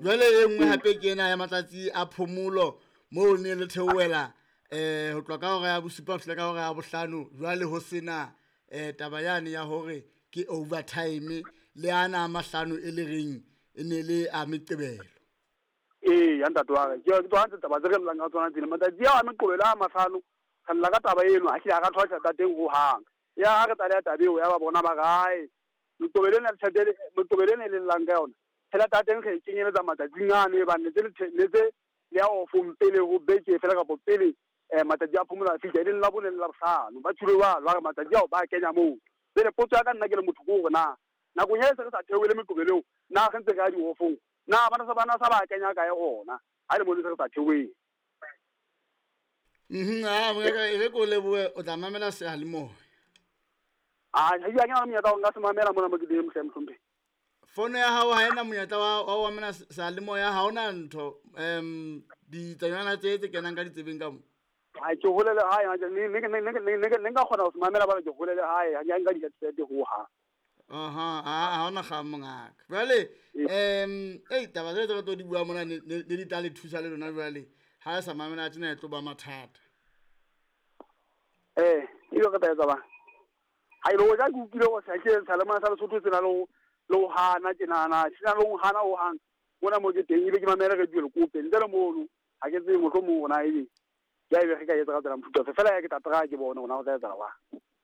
Jwale e nngwe hape ke ena ya matsatsi a phomolo moo ne le theohela ho tloha ka hora ya bosupa ho fihla ka hora ya bohlano. Jwale ho sena taba yane ya hore ke overtime le ana a mahlano e le reng e ne le a meqebelo. Ee, ya ntate wa ka. Ke tsona tse taba tse re llang ka tsona tsena. Matsatsi ao a meqebelo a mahlano re lla ka taba eno, ha hlile ha ra thola tjhelete ya teng hohang. Ya ha re tlaleha taba eo ya ba bona ba re ae meqebelo ena tjhelete meqebelo ena e le llang ka yona. Tjhelete ya teng re e kenyeletsa matsatsing ano e bang ne tse le ya offong pele ho beke fela kapa pele matsatsi a phomolo a fihla, e leng la bone le la bohlano. Ba tjholo jwalo, ba re matsatsi ao ba kenya moo. Jwale potso ya ka nna ke le motho ke hore na nakong e se re sa theohele meqebelo eo, na re ntse re ya di-offong, na bana sa ba kenya kae ona ha le mo se re sa theohele. A e re ko lebohe, o tla mamela seyalemoya. A ha ke na le monyetla wa nka se mamela mona mo ke teng mohle mohlomphehi. Fono ya hao ha ena monyetla wa ho mamela seyalemoya, ha hona ntho ditsanyana tse tse kenang ka ditsebeng ka mo. Ha ke hole le hae, ne nka kgona ho se mamela bana ke hole le hae, ha ke nka di-headset hohang. Aha, ha hona kgang mongaka. Jwale ei taba tse re tlo di bua mona ne di tla le thusa le lona jwale. Ha e sa mamela tjena e tlo ba mathata. E re tla etsa bang. Ha ile o ja ke utlwile hore sa ke sa le mona sa Lesotho tsena le ho hana tjenana, sena le ho hana ho hang. Mona mo ke teng ebe ke mamela radio le kope ntle le mono ha ke tsebe mohlomong hona ebe ya ebe re ka etsa ka tsela mofuta fela ya ke tla try ke bone hona ho tla etsa wa.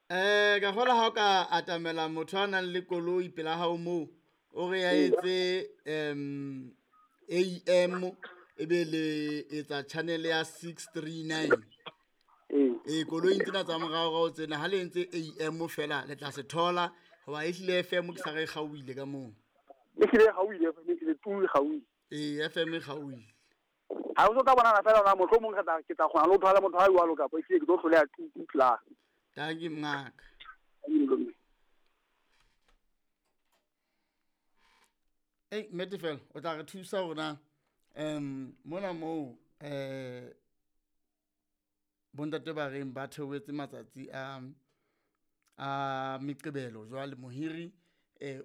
Ka kgola ha o ka atamela motho a nang le koloi pela hao moo o re ya etse AM ebe le etsa channel ya 639. Koloi tsena tsa morao tsena ha le entse AM fela le tla se thola hoba e hlile FM ke sa re kgaohile ka moo. E hlile kgaohile FM e hlile tu kgaohile. FM e kgaohile. Ha o tla bona fela hore mohlomong re tla ke tla kgona le ho thola motho a jwalo kapa e hlile ke tlo hloleha tu tla. Dankie mngaka. Ei nnete fela o tla re thusa hore mona moo bontate ba reng ba theohetse matsatsi a meqebelo jwale mohiri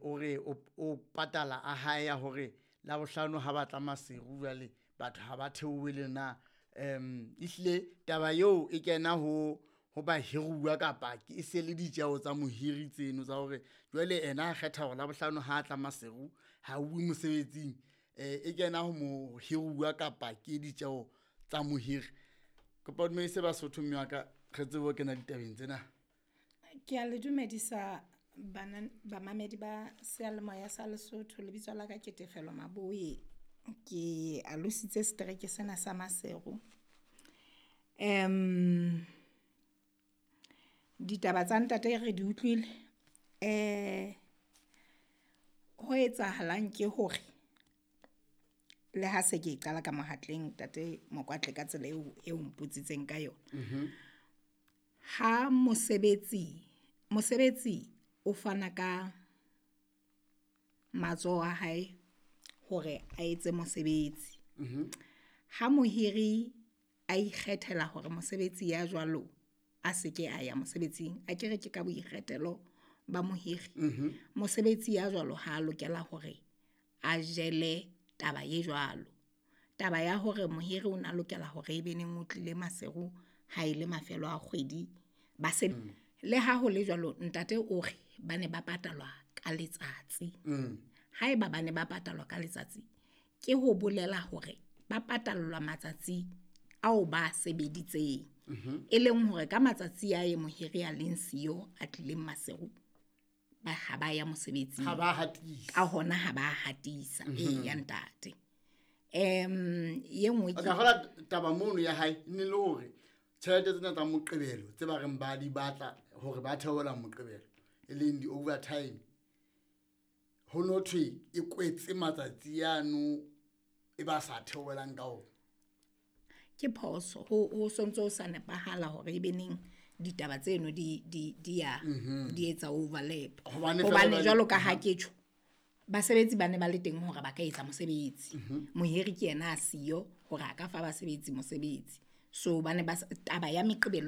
o re o patala a hae ya hore la bohlano ha batla maseru jwale batho ha ba theohele na ehlile taba eo e kena ho ba hiruwa kapa ke se le ditjeo tsa mohiri tseno tsa hore jwale ena a kgetha hore la bohlano ha tla maseru ha uwe mosebetsing e kena ho mohiruwa kapa ke ditjeo tsa mohiri. Kopa dumedise Basotho mme wa ka re tsebe ho kena ditabeng tsena. Ke a le dumedisa bana bamamedi ba seyalemoya sa Lesotho. Lebitso la ka ke Tefelo Maboe, ke alositse setereke sena sa Maseru. Ditaba tsa ntate re di utlwile. Ho etsahalang ke hore le ha se ke qala ka mohatleng ntate Mokwatle ka tsela eo mpotsitseng ka yona. Ha mosebetsi o fana ka matsoho a hae hore a etse mosebetsi. Ha mohiri a ikgethela hore mosebetsi ya jwalo a se ke a ya mosebetsing, a ke re ke ka boikgethelo ba mohiri. Mosebetsi ya jwalo ha lokela hore a jele taba e jwalo. Taba ya hore mohiri o na lokela hore ebe neng o tlile Maseru ha ile mafelo a kgwedi ba se le ha ho le jwalo ntate o re ba ne ba patalwa ka letsatsi. Haeba ba ne ba patalwa ka letsatsi ke ho bolela hore ba patallwa matsatsi ao ba sebeditseng. E leng hore ka matsatsi a e mohiri a leng siyo a tlileng Maseru ba ha ba ya mosebetsing. Ha ba hatisa. Ka hona ha ba hatisa ya ntate. Ye nngwe ke ka taba mono ya hae ne le hore tjhelete tsena tsa moqebelo tse ba reng ba di batla hore ba theola moqebelo e leng di overtime ho no thwe e kwetse matsatsi ano e ba sa theolang ka ona. Ke phoso ho sontso sa nepahala hore ebe neng ditaba tseno di ya di etsa overlap. Hobane jwalo ka ha ke tjho basebetsi ba ne ba le teng hore ba ka etsa mosebetsi. Mohiri ke yena a siyo hore a ka fa basebetsi mosebetsi. So ba ne ba taba ya meqebelo